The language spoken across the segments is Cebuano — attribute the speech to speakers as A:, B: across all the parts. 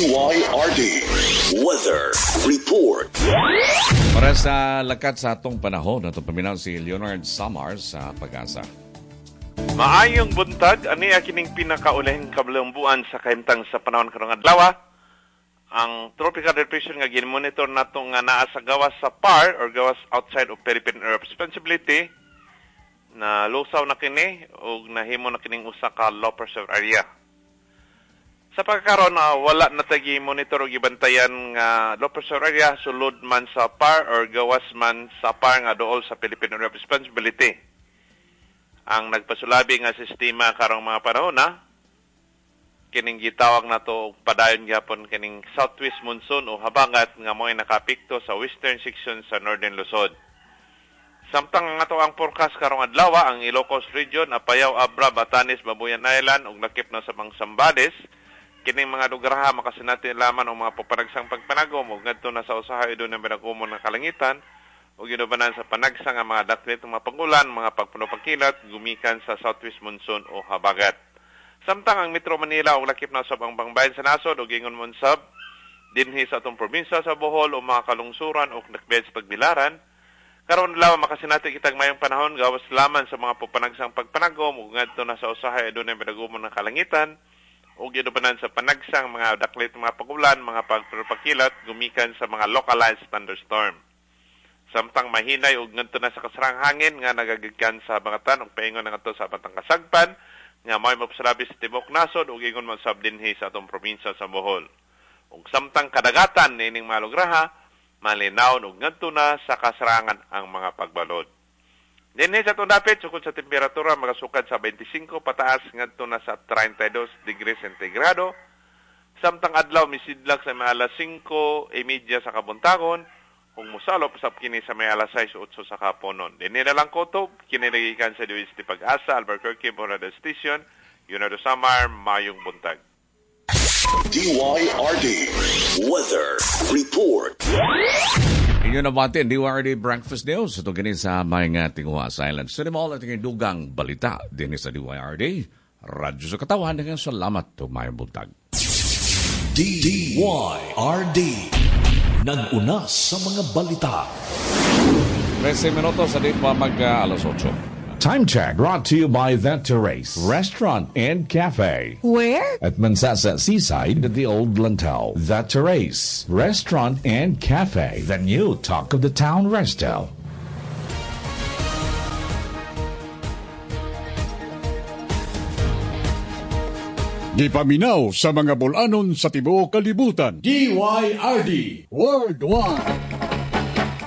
A: DYRD Weather Report.
B: Para sa lakat sa atong panahon, atong paminaw si Leonard Samar sa Pag-asa.
C: Maayong buntag, ani kining pinakaulahing kabalumbuan sa kahimtang sa panahon karong adlaw. Ang tropical depression nga gin-monitor nato nga naa sa gawas sa PAR or gawas outside of Philippine Area of Responsibility, na lusaw na kini og nahimo na kining usa ka low pressure area. Sa pagkakaroon na wala na tagi monitor og gibantayan nga low pressure area sulod man sa PAR or gawas man sa PAR nga duol sa Philippine Area of Responsibility. Ang nagpasulabi nga sistema karong mga panahon na kining gitawag nato og padayon gyapon kining southwest monsoon o habangat nga mo'y nakapikto sa western section sa Northern Luzon. Samtang ang ato ang forecast karong adlaw, ang Ilocos Region, Apayao, Abra, Batanes, Babuyan Island ug lakip na sa Sambales, kining mga lugar ha makasinati laman og mga panagsang pagpanagom ug ngadto na sa usahay dunay binagumon ng kalangitan ug ginubanan sa panagsang nga mga daklit ng mga pangulan, mga pagpuno-pagkilat gumikan sa southwest monsoon o habagat. Samtang ang Metro Manila ug lakip na usab ang bangbayan sa nasod ug ingon mon sab dinhi sa atong probinsya sa Bohol o mga kalungsuran ug nakbed sa Tagbilaran, karon adlaw makasinati kitag mayong panahon gawas laman sa mga panagsang pagpanagom ug ngadto na sa usahay adunay binagumon ng kalangitan ug ginubanan sa panagsang mga daklit mga pagulan, mga pagpakilat gumikan sa mga localized thunderstorm. Samtang mahinay ug ngadto na sa kasarang hangin nga nagagikan sa bangatan ug paingon na ngadto sa Batang Kasagpan nga may mapasalabi sa tibuok nasod ug ingon man sab dinhi sa atong probinsya sa Bohol. Ug samtang kadagatan niining mga lugraha, malinaw ug ngadto na sa kasarangan ang mga pagbalod. Dinhi sa atong dapit sukod sa temperatura magasukad sa 25 pataas ngadto na sa 32 degrees sentigrado. Samtang adlaw misidlak sa mga alas 5:30 sa kabuntagon ug mosalop usab kini sa may alas 6:08 sa kaponon. Dinhi na lang kotob, kini nagikan sa DWST Pag-asa, Albuquerque, Borada Station, Leonardo Samar, mayong buntag.
A: DYRD Weather Report.
B: Inyo na batin, DYRD Breakfast News. Ito kini sa may nga tinguha Silent Cinema. At yung dugang balita din sa DYRD. Radyo sa Katawan. Daghang salamat ug mayong buntag.
A: DYRD. Nag-una sa mga balita.
B: 13 minutos sa di pa mag alas 8.
D: Time check brought to you by That Terrace Restaurant and Cafe.
E: Where?
D: At Mansasa Seaside at the Old Lantau. That Terrace Restaurant and Cafe. The new talk of the town resto.
F: Gipaminaw sa mga bulanon sa tibuok kalibutan. DYRD Worldwide.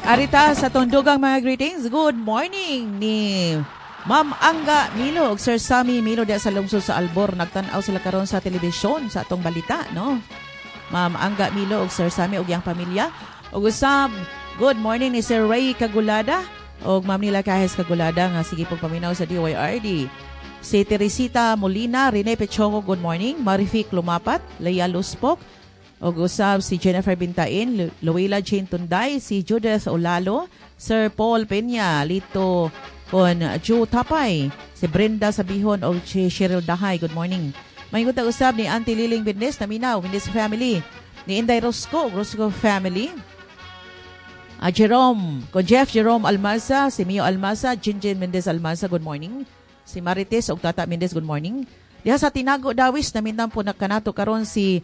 E: Arita sa tundugang mga greetings. Good morning ni Ma'am Angga Milo ug Sir Sammy Milo diya sa lungsod sa Albor. Nagtan-aw sila karon sa telebisyon sa atong balita, no? Ma'am Angga Milo ug Sir Sammy ug iyang pamilya. Ug usab, good morning ni Sir Ray Kagulada ug Ma'am Nila Cajes Kagulada nga sige pong paminaw sa DYRD. Si Teresita Molina, Rene Pechoco, good morning. Marific Lumapat, Leia Luspok, ug usab si Jennifer Bintain, Luila Jane Tunday, si Judith Olalo, Sir Paul Peña, Lito con Joe Tapay, si Brenda Sabihon o si Cheryl Dahay, good morning. May gutag usab ni Auntie Liling Bindis, Naminaw, Bindis family, ni Inday Rosco, Rosco family, Jerome, con Jeff Jerome Almaza, si Mio Almaza, Jinjin Mendez Almaza, good morning. Si Marites og Tata Mendez, good morning. Diha sa Tinago Dawis, namindan po na kanato karon si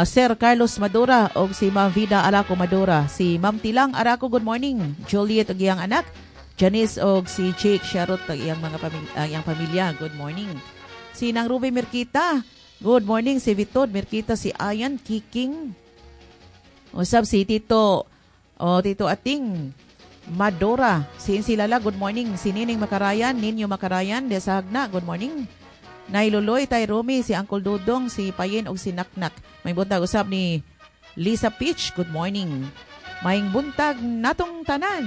E: Sir Carlos Madura og si Ma'am Vida Araco Madura. Si Ma'am Tilang Araco, good morning. Juliet og iyang anak, Janice og si Jake Sharot og iyang mga iyang pamilya, good morning. Si Nang Ruby Mirkita, good morning. Si Vitod Mirkita, si Ayan Kiking. Usab si Tito o Tito Ating Madora, si Insilala, good morning. Si Nining Makarayan, Ninyo Makarayan, de sa Hagna, good morning. Nailuloy, Tay Romy, si Uncle Dudong, si Payin og si Naknak. May buntag usab ni Lisa Peach, good morning. Maing buntag natong tanan.